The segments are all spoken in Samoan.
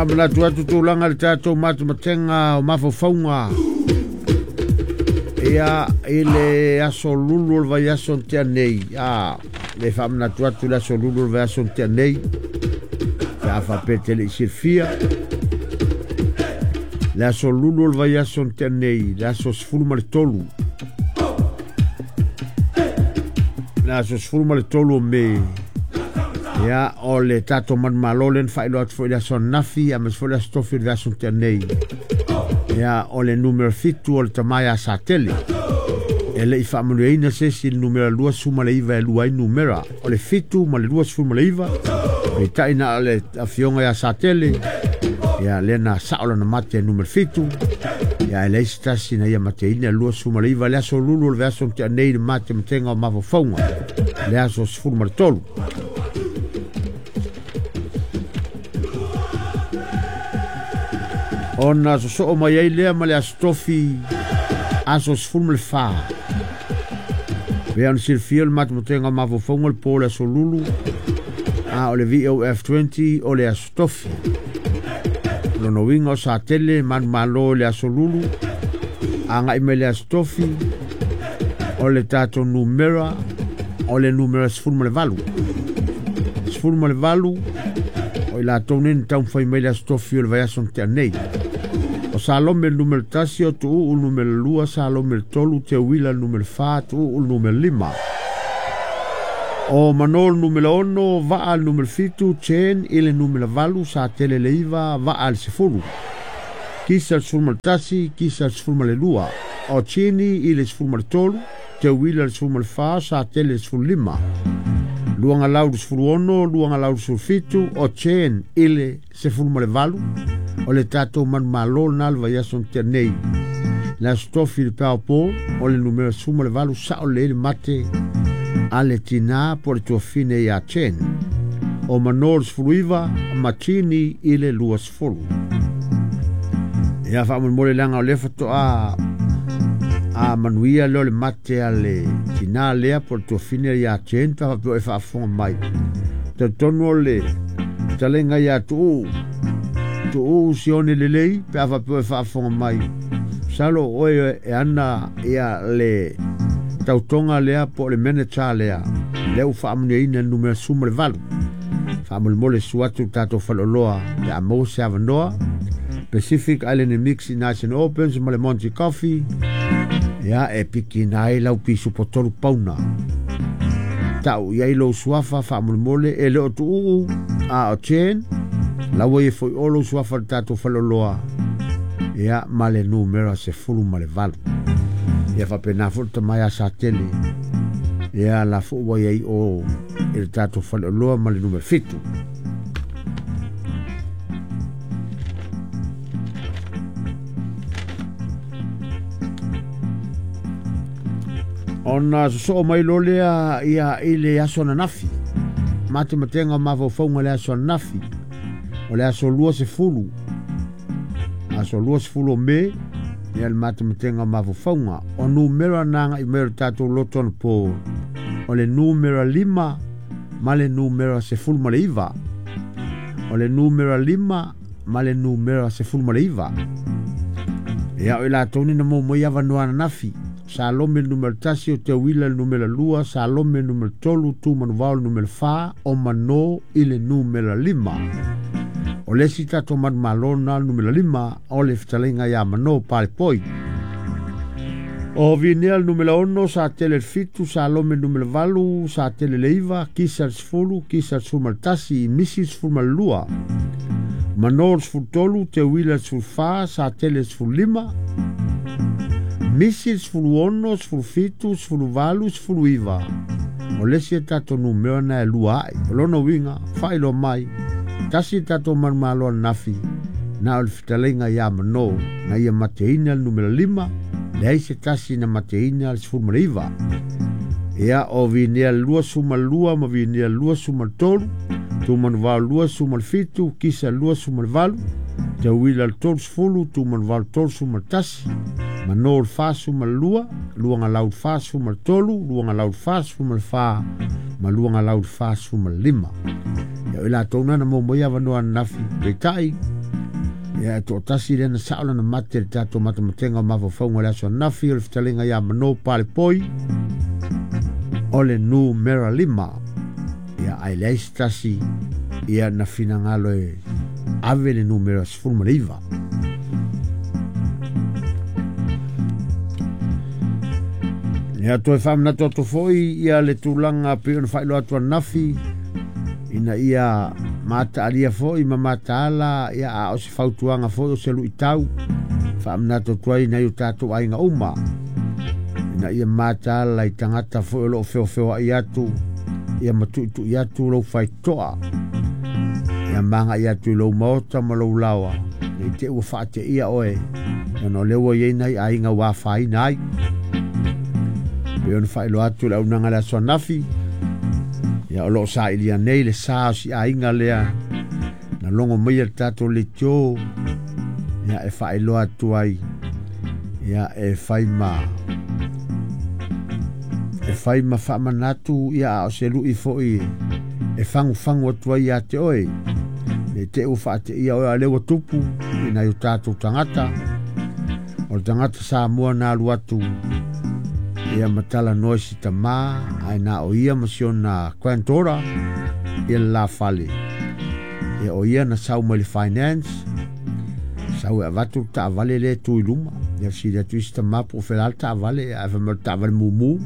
Faamanatu atu tulaga i le tatou matematenga o mafaufauga ia i le aso Lulu o le vaiaso na tea nei. Le faamanatu atu le aso Lulu o le vaiaso na tea nei pe a faapea e te le i silafia. Le aso Lulu o le vaiaso na tea nei, le aso 13. Le aso 13 o Me. Ia, o le tatou manumalo lea na faailoa atu foi i le aso ananafi, aemaise foi le aso Tofi o le vaiaso na tea nei. Ia, o le numera 7 o le tama ia Satele. E le i faamanuiaina se isi i le numera 29 e lua ai numera. O le 7 ma le 29, peitai na o le afioga ia Satele, ia lea na sao lana mate e numera 7. Ia, e leai se tasi na ia mateina le 29 le aso Lulu o le vaiaso na tea nei i le matematega o mafaufauga, le aso 13. Ona sosoo mai ai lea ma le aso Tofi, aso 14. Pei ona silafia le matematega o mafaufauga le po o le aso Lulu, a o le VOF20 o le aso Tofi. O lona uiga o Satele manumalo i le aso Lulu, agai mai le aso Tofi, o le tatou numera, o le numera 18. 18, o i latou nei na taumafai mai le aso Tofi o le vaiaso na tea nei. O Salome le numera 1, o Tuuu le numera 2, Salome le 3, Teuila le numera 4, Tuuu le numera 5. O Mano le numera 6, Vaa le numera 7, Chen i le numera 8, Satele le 9, Vaa le 10. Kisa le 11, Kisa le 12. O Chini i le 13, Teuila le 14, Satele le 15. Luagalau le 16, Luagalau le 17, o Chen i le 18, o le tatou manumalo lena le vaiaso na tea nei. Le aso Tofi le Powerball, o le numera 18, sao lelei le mate a le tina po o le tuafine ia Chen. O Mano le 19, ma Chini i le 20. Ia faamolemole leaga o lea faatoa a manuia lea o le mate a le tina lea po o le tuafine ia Chen, pe faapea e faafofoga mai. Talitonu o le fetalaiga ia Tuuu, Tuuu Sione lelei, pe a faapea e faafofoga mai. Masalo oe e ana ia le tautoga lea po o le manager lea, lea ua faamanuiaina le numera 18. Faamolemole susu atu le tatou faleoloa pe a maua se avanoa. Pacific Island Mix i Nice and Opens ma le Monty Coffee. Ia, e pikina ai lau pisupo 3 pauna. Tau i ai lou suafa faamolemole e le o Tuuu, a o Chen, laua ia foi o lou suafa le tatou faleoloa. Ia, ma le numera 18. Ia faapena foi le tama ia Satele. Ia, la foi ua iai o i le tatou faleoloa ma le numera 7. Ona sosoo mai lo lea ia i le aso ananafi. Matematenga o mafaufauga le aso ananafi. O le aso 20. Aso 20 o Me, ia le matematenga o mafaufauga. O numera na agai mai o le tatou loto anapo. O le numera 5 ma le numera 19. O le numera 5 ma le numera 19. Ia o i latou ni na maua mai avanoa ananafi. Salome le numera 1, o Teuila le numera 2, Salome le numera 3, Tumanuvao le numera 4, o Mano i le numera 5. O le isi tatou manumalo na le numera 5, o le fetalaiga ia Mano Palepoi. O Vinea le numera 6, Satele le 7, Salome le numera 8, Satele le 9, Kisa le 10, Kisa le 11, Misi le 12. Mano le 13, Teuila le 14, Satele le 15, Misi le 16, 17, 18, 19. O le isi e tatou numera na e lua ai. O lona uiga, faailoa mai, tasi e tatou manumalo ananafi, na o le fetalaiga ia Mano, na ia mateina le numera 5, leai se tasi na mateina le 19. Ia o Vinea le 22 ma Vinea le 23, Tumanuvao le 27, Kisa le 28, Teuila le 30, Tumanuvao le 31, Mano le 42, Luagalau le 43, Luagalau le 44, ma Luagalau le 45. Ia o i latou na na maua mai avanoa ananafi, peitai, Ia e toatasi lea na sao lana mate i le tatou matematenga o mafaufauga o le aso ananafi, o le fetalaiga ia Mano Palepoi o le numera 5. Ia ae leai se tasi ia na finagalo e ave le numera 19. Ia toe faamanatu atu foi ia le tulaga pei ona faailoa atu ananafi, ina ia mataalia foi ma mataala, ia a o se fautuaga foi o se luitau faamanatu atu ai nai o tatou aiga uma, ina ia mataala i tagata foi o loo feofeoai atu, ia matuitui atu lou faitoa, ia magai atu i lou maota ma lou laoa, nei te ua faateia oe, ona o lea ua iai nai aiga ua afaina ai. Pei ona faailoa atu le auaunaga le aso ananafi, ia o loo sailia nei le sa o si aiga lea na logo maia le tatou leitio, ia e faailoa atu ai, ia e fai ma faamanatu, ia a o se lui foi e fagufagu atu ai ia te oe, nei te ua faateia oe a lea ua tupu i nai o tatou tagata. O le tagata Samoa na alu atu ia matalanoa i si tamā, ae na o ia ma si ona granddaughter ia le la fale. Ia o ia na sau mai le finance, sau e avatu le taavale lea e tu i luma. Ia fesili atu i si tamā po o fela le taavale, ae fai mai o le taavale mumu.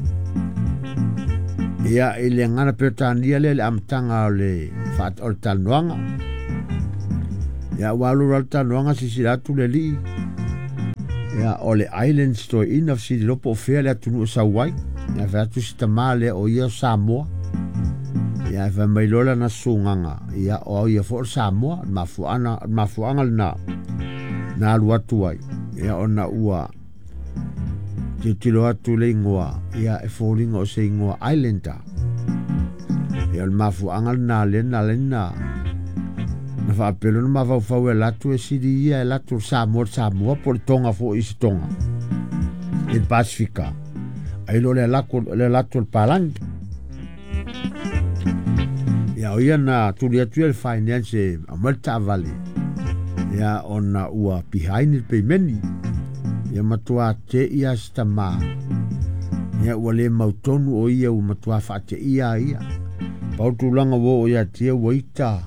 Ia i le gagana Peretania lea le amataga o le talanoaga. Ia ua alu le talanoaga sisila atu le alii, ia o le Islands toeaina fesili loa po o fea le atunuu e sau ai. Ia fai atu si tamā lea o ia o Samoa. Ia fai mai loa lana susugaga, ia o ia foi o le Samoa, le mafuaaga lena na alu atu ai. Ia ona ua tilotilo atu le igoa, ia e foliga o se igoa Islander. Ia o le mafuaaga lena lea na ala ai na faapelo na mafaufau e latou e sili ia e latou le Samoa le Samoa po o le Tonga foi i se Tonga i le Pasifika, ai lo le latou le Palangi. Ia o ia na tuli atu ia le finance e aumai le taavale, ia ona ua behind le peimeni. Ia matua teia si tamā, ia ua le mautonu o ia ua matua faateia ia. Pau tulaga ua oo ia te ia ua ita,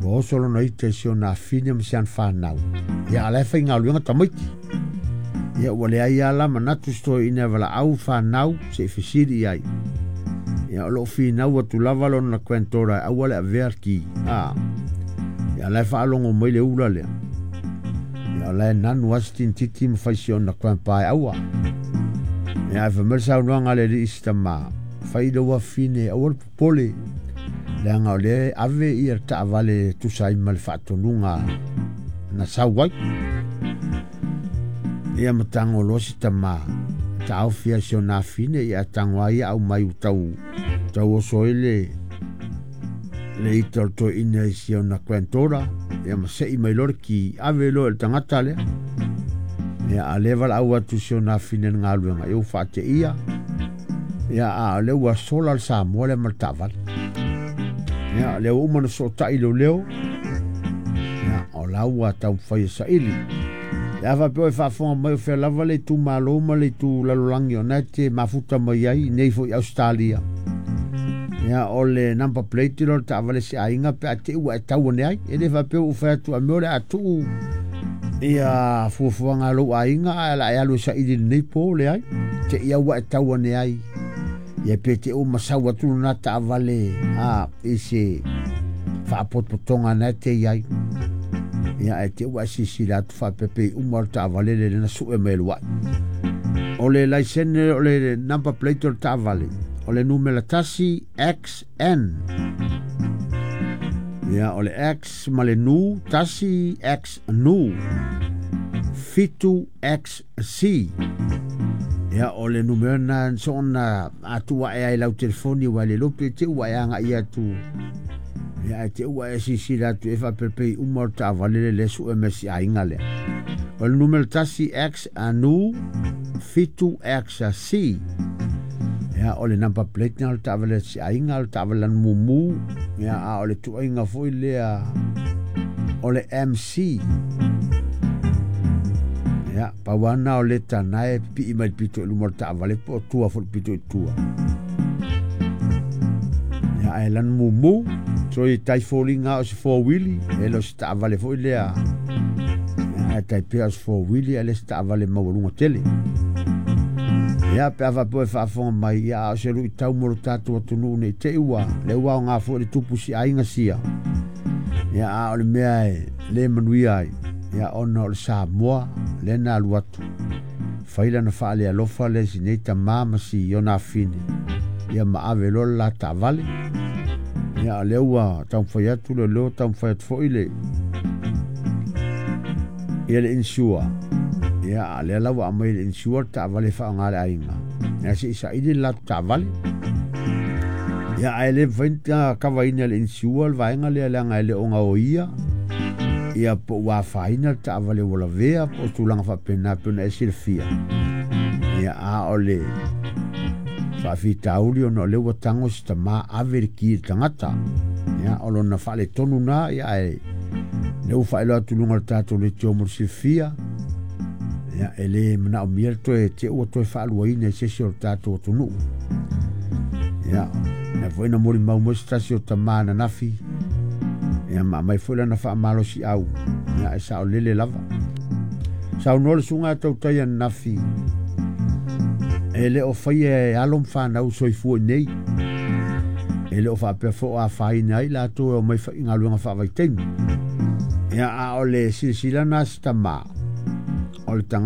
ua oso lona ita i si ona afine ma si ana fanau. Ia a la e faigaluega tamaiti. Ia ua leai lava la manatu si toeaina e valaau fanau se i fesili i ai. Ia o loo finau atu lava lona granddaughter e aua le avea ki. Ia la e faalogo mai le ula lea. Ia o la e nanu lava si tinititi ma fai si ona grandpa e aua. Ia ae fai mai le saunoaga a le alii i si tamā, fai lou afine aua le popole, leaga o lea ave ia le taavale tusa ai ma le faatonuga na sau ai. Ia ma tago loa si tamā, taofi ai si ona afine, ia tago ai ia aumai ua tau oso ai le ita o le toeaina i si ona granddaughter. Ia ma sei mai loa le ki, ave loa i le tagata lea. Ia a lea valaau atu si ona afine le galuega, ia ua faateia. Ia a o lea ua sola le Samoa lea ma le taavale. Ia lea ua uma na sootai leoleo, ia o la ua taumafai e saili. Ia faapea oe faafofoga mai o fea lava le itumalo ma le itu lalolagi o na e te mafuta mai ai nei foi Australia. Ia o le number plate lea o le taavale se aiga pe a te ua e tau ane ai. E le faapea ua fai atu a mea o le a tuu ia fuafuaga a lou aiga ae la e alu e saili lenei po leai. Te ia ua e tau ane ai. Ia pe te ua masau atu lona taavale i se faapotopotoga na e te iai. Ia e te ua e sisila atu faapea uma o le taavale le na sue mai luai. O le laisene o le number plate o le taavale, o le numera 1 XN. Ia o le X ma le nu, 1 X nu, 7 XC. Ia o le numera na soona atua e ai lau telefoni wa le lope te ua e anga ia atu. Ia e te ua e sisila atu e faapepei uma o le taavale le sue me si aiga lea. O le numera 1 X anu 7 X C. Ia o le number plate na o le taavale si aiga, o le taavale lana mumu. Ia a o le tuaiga foi lea o le MC. Ia, pau lava lena o leta na e pipii mai le pito i luma o le taavale po o tua foi i le pito i tua. Ia, ae lanu mumu, so e tai foliga o se four-wheel, e le o se taavale foi lea. Ia, ae tai pea o se four-wheel ae le se taavale maualuga tele. Ia, pe a faapea e faafofoga mai, ia, a o se luitau mo lo tatou atunuu ne i te i ua le ua aoga foi le tupu si aiga sia. Ia, a o le mea e le manuia ai, ia, ona o le Samoa lea na alu atu fai lana faalealofa lea i si nei tamā ma si ona afine, ia ma ave loa le la taavale. Ia, o lea ua taumafai atu le leo, taumafai atu foi le ia le insure. Ia, a lea la ua aumai le insure le taavale e faaaoga e le aiga. Ia, se i saili le latou taavale. Ia, ae le mafai ona kavaina e le insure le vaega lea leaga e le o gaoia ia po ua afaina le taavale ua lavea po o tulaga faapena pei ona e silafia. Ia, a o le faafitauli ona o lea ua tago si tamā ave le ki i le tagata. Ia, o lona faaletonu na, ia ae lea ua faailoa atu i luga o le tatou leitio mo le silafia. Ia, e le manaomia le toe te ua toe faaluaina i se isi o le tatou atunuu. Ia, lea foi na molimau mai se tasi o tamā ananafi, ia ma aumai foi lana faamalosiau, ia e saolele lava. Saunoa le susuga a tautai ananafi, e le o faia e alo ma fanau soifua i nei. E le o faapea foi o afaina ai latou e omai i galuega faavaitaimi. Ia, a o le silasila na a si tamā, o le tagata